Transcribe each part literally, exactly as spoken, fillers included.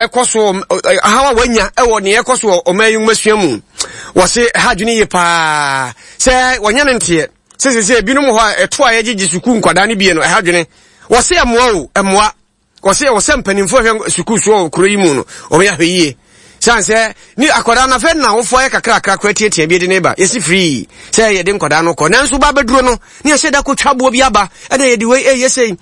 Ɛkɔ so haw a wanya wɔ nea ɛkɔ so wɔ ɔman yi nwomasua mu. Wɔse ɛha adwene yie paa sɛ wɔnyɛ no nteɛ sɛ sɛ sɛ ebinom hɔ a ɛto a yɛgyegye sukuu nkwadaa no bie no ɛha adwene. Wɔse ɛmmoa o, ɛmmoa. Wɔse ɛwɔ sɛ mpanimfoɔ hwɛ sukuu soɔ wɔ kuro yi mu no wɔyɛ ahwɛ yie. San sɛ ne akwadaa no afei na awofoɔ ayɛ kakrakra koraa tiatia bi de ne ba yɛsi firii sɛ yɛde nkwadaa no kɔ, nanso ba bɛduro no ne yɛhyɛ da kɔtwa boɔ bi aba ɛna yɛde wei ɛyɛ sei.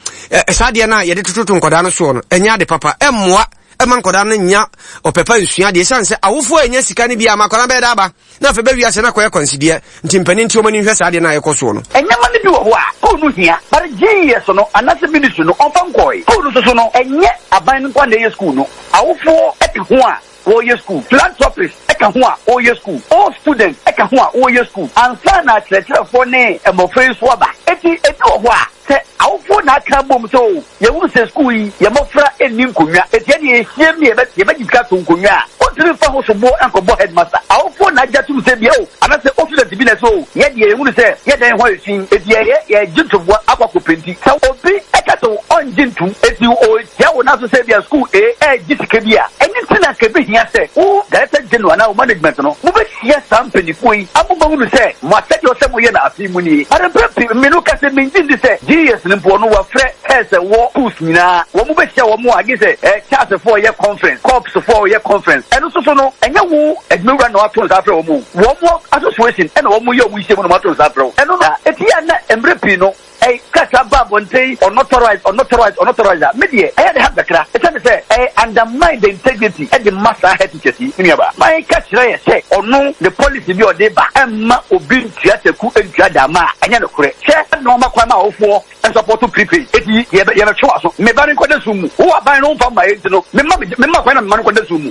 Saa adeɛ no a yɛde tototo nkwadaa no soɔ no ɛnyɛ ade papa, ɛmmoa ɛma nkwadaa no nya ɔpɛpa nsua adeɛ, ɛsiane sɛ awofoɔ a ɛnya sika no bi ama akwadaa no bɛyɛ da aba na afei bɛwi ase na akɔyɛ kwansideɛ. Nti mpanin nti wɔn ani nhwɛ saa adeɛ no a ɛkɔ soɔ no. Nneɛma no bi wɔ hɔ a school no hia, but G E S no anaasɛ ministry no ɔmfa nkɔe. School no soso no, ɛnyɛ aban no nko na ɛyɛ school no. Awofoɔ ɛka ho a wɔyɛ school, philanthropist ɛka ho a wɔyɛ school, all students ɛka ho a wɔyɛ school, ansa na akyerɛkyerɛfoɔ ne mmɔfra yi so aba. Eti ebi wɔ hɔ a sɛ awofoɔ na aka bom sɛ o, yɛhunu sɛ school yi yɛ mmɔfra nni nkonnwa, eti ɛne yɛhyia mu yɛbɛ yɛbɛgye sika to nkonnwa a wɔntumi nfa ho soboɔ nkɔbɔ headmaster. Awofoɔ na agye atum sɛ bia o, anaasɛ o, student bi na sɛ o, yɛ deɛ yɛhunu sɛ yɛdan hɔ yɛ fi, eti yɛyɛ yɛgye ntoboa akɔ akɔ paint. Sɛ obi ɛka sɛ ɔngye ntum, eti o tia wo naso sɛ bia school a ɛgye sika bi a ɛne ti na nka ebi hia sɛ wo director general anaa wo management no mobɛhyia saa mpanimfoɔ yi amobɛhunu sɛ mo asɛdeɛ ɔsɛ moyɛ no afei mu nie. But mpɛ pii mmenu ka sɛ mengye ndi sɛ G E S no mpo no wɔafrɛ hɛ sɛ wɔ schools nyinaa wɔn mo bɛhyia wɔn a gye sɛ ɛ Charlesfoɔ yɛ conference, corpsfoɔ yɛ conference. Ɛno nso so no, ɛnyɛ wo adwumawura na wato nsa afrɛ wɔn o, wɔn mo association ɛna wɔn mo yɛ wɔn nhyia mu na wɔn ato nsa afrɛ wo. Ɛno no eti yɛ na mmerɛ pii no ɛy kasa ba abɔnten unauthorized, unauthorized, unauthorized a me deɛ ɛyɛ de ha kakra, ɛsɛne sɛ ɛyɛ undermine the integrity ɛde ma saa head teachers yi. Me nuaba man ka kyerɛ yɛ sɛ ɔno ne policy bi a ɔde ba ɛmma obi ntua taku ntua dama a ɛnyɛ nokorɛ hwɛ ɛna ɔma kwan ma awofoɔ nsupporto prepaid. Eti yɛbɛ yɛbɛtwe wa so meba ne nkɔda sum mu wo aban no mfa mma yɛ nti no mema mema kwan na mema no nkɔda sum mu.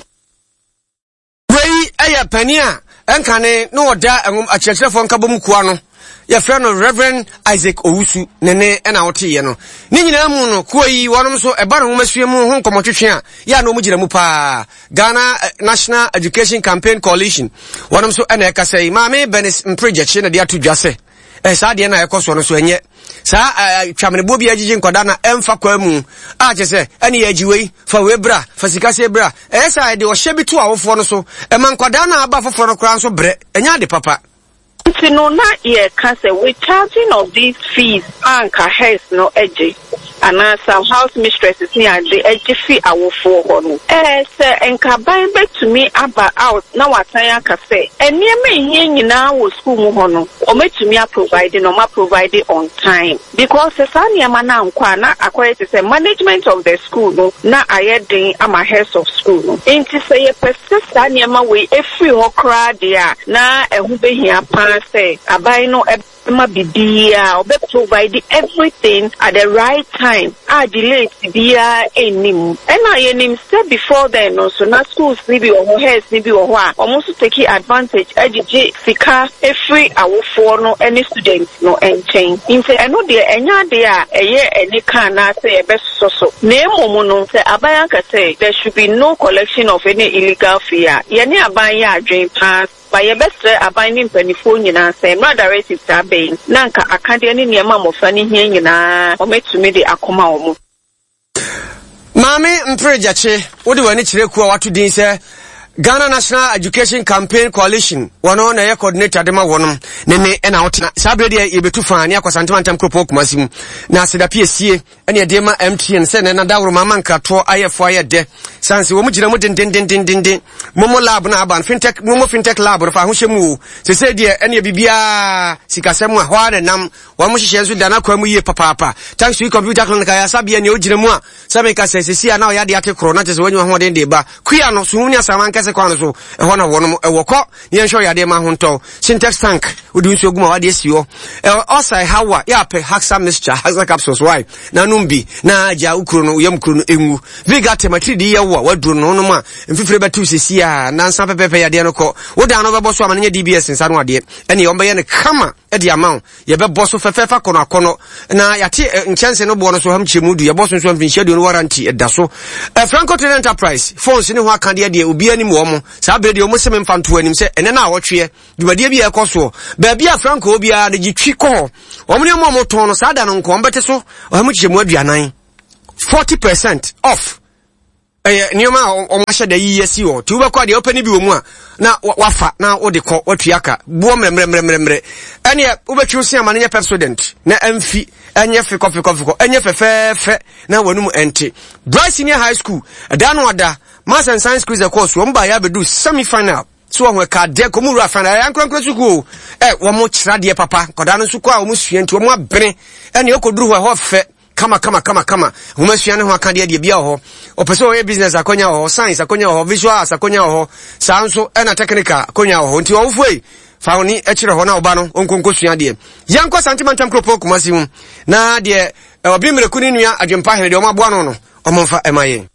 Wei ɛyɛ panin a ɛnkane na ɔda akyerɛkyerɛfoɔ nkabom kua no, yɛfrɛ no Reverend Isaac Owusu ne ne ɛna woteeɛ no. Ne nyinaa mu no, kuo yi wɔnom nso ɛba no nwomasua mu ho nkɔmmɔtwetwe a yɛ a na ɔmu gyina mu paa, Ghana National Education Campaign Coalition, wɔnom nso ɛna ɛkasa yi. Maame Benis Mpregyakye na de ato dwa sɛ ɛ saa deɛ no a ɛkɔ soɔ no so ɛnyɛ saa twameneboɔ bi a agyegye nkwadaa na ɛmfa kwa mu a kyɛ sɛ ɛne yɛ agyi wei fa wei bra fa sika se bra. Ɛyɛ sɛ ɛde ɔhyɛ bi to awofoɔ no so ɛma nkwadaa no a aba foforɔ no koraa nso brɛ. Ɛnyɛ ade papa. Nti no na yɛka sɛ with charging of these fees a nka heads no agye anaa some house mistresses ne ade agye fi awofoɔ hɔ no, ɛɛ sɛ nkaban bɛtumi aba out na wasan aka sɛ nneɛma ehia nyinaa wɔ school mu hɔ no, wɔmɛtumi aprovide na wɔn aprovide on time, because sɛ saa nneɛma no ankɔ a, na akɔyɛ te sɛ management of the school no na ayɛ den ama heads of school no. Nti sɛ yɛpɛ sɛ saa nneɛma wei efiri hɔ koraa deɛ a, na ɛho behia paa sɛ aban no ma biribiara ɔbɛ provide everything at the right time a delays biara nnim. Ɛna yɛnim sɛ before then no nso na schools ni bi wɔ hɔ, heads ni bi wɔ hɔ a wɔn nso take advantage agyegye sika efiri awofoɔ no ne students no nkyɛn. Nti ɛno deɛ ɛnyɛ adeɛ a ɛyɛ anika anaasɛ yɛbɛsosɔ so, na emom no sɛ aban aka sɛ there should be no collection of any illegal fee a, yɛne aban yɛ adwene paa ba. Yɛbɛsrɛ aban ne mpanimfoɔ nyinaa sɛ mmra directive saa bɛyi na nka akadeɛ ne nneɛma mmɔfra no hia nyinaa wɔmɛtumi de akɔma wɔn. Maame Mpere Gyakye, wode w'ani kyerɛ kuo a wato din sɛ Ghana National Education Campaign Coalition, wɔno na ɛyɛ coordinator de ma wɔnom ne ne ɛna wotena. Saa berɛ deɛ yɛbɛtu faa ne akɔsantema ntam kuropɔn Kumase mu na asedape esie ɛne ɛdeɛ ma M T N sɛ nɛ nadaworo ma ama nkratoɔ ayɛfoɔ ayɛ dɛ sane sɛ wɔn gyina mu dendendendenden. Momo Lab no aba no, fintech, Momo Fintech Lab no fa ahohyɛ mu o. Sɛsɛ deɛ ɛne biribiara sikasɛm a hɔ ara na nam wɔn mo hyehyɛ nso da n'akwan mu yie papaapa. Thanks to Computer Clinic ayasabea nea ogyina mu a sɛ meka sɛ sɛsi a na ɔyɛ adeɛ ate korɔ na kyerɛ sɛ wɔanya ahoɔden de ba kua no suhum ne asaman kɛse kwan no so ɛhɔ na wɔnom ɛwɔ kɔ ne yɛnhwɛ ɔyɛ adeɛ ma ho ntɔ. Sintex tank wode nsuo gu ma wade asi hɔ ɔsa ɛhaw a yɛapɛ Haxa mixture, Haxa capsules wai na nom bi na agya wo kuro no yam kuro no ɛngu. Viga tematiri de yɛ wo a waduro no nom a mfifire bɛtew sɛsi a nansa pɛpɛpɛ yadeɛ no kɔ. Wo dan no bɛbɔ so ama no nyɛ D B S nsa no adeɛ ɛne ɔmbɛyɛ no kama de ama wo. Yɛbɛbɔ so fɛfɛɛfɛ akɔnɔ akɔnɔ na yɛate nkyɛnse no boɔ no so ham kyɛ mu du. Yɛbɔ so nso mfinhyia aduonu warranty ɛda so. Franco Trading Enterprise phones ne ho akadeɛ deɛ obi anim wɔ mo saa berɛ deɛ ɔmo se memfa nto anim sɛ ɛnɛ no a wɔtweɛ dwumadeɛ bi a ɛkɔ soɔ baabi a Franco biara de gye twi kɔ hɔ wɔn ne ɔmo a wɔtɔn no saa da no nko wɔn bɛte so ɔha mu kyekyɛ mu aduanan, forty percent off. Ɛyɛ nneɛma a wɔn ahyɛ da yiyi asi hɔ. Ti wobɛkɔ adeɛ wopɛ ne bi wɔ mu a na wafa na wode kɔ watua ka boɔ mmerɛmmerɛmmerɛmmerɛ. Ɛneɛ wobɛtwi wo se ama no nyɛ Pepsodent na ɛmfi ɛnyɛ fekɔ fekɔ fekɔ ɛnyɛ fɛfɛɛfɛ na w'anum ɛnte. Bright Senior High School ɛda no ada Maths and Science quiz ɛkɔɔ so wɔn baeɛ abɛdu semi final. So wɔn ɛka adeɛ kɔn mu wura final ɛyɛ ankorankora sukuu o ɛ wɔn kyerɛ adeɛ papa nkwadaa no nso kɔ a wɔn sua nti wɔn abene ɛne ɛkɔduru hɔ ɛhɔ fɛ kama kama kama kama nwoma sua ne ho aka deɛ deɛ bia wɔ hɔ ɔpɛ sɛ ɔyɛ business akonya wɔ hɔ science akonya wɔ hɔ visual arts akonya wɔ hɔ saa nso ɛna technical akonya wɔ hɔ nti ɔwofoɔ yi fa wo ni kyerɛ hɔ na ɔba no ɔnkonko sua deɛ yɛnkɔ Sante Mantam kuropɔn Kumasi mu na deɛ ɔbi mmireku ne nua adwempa hene deɛ ɔmo aboa no no ɔmo mfa ɛma yɛn.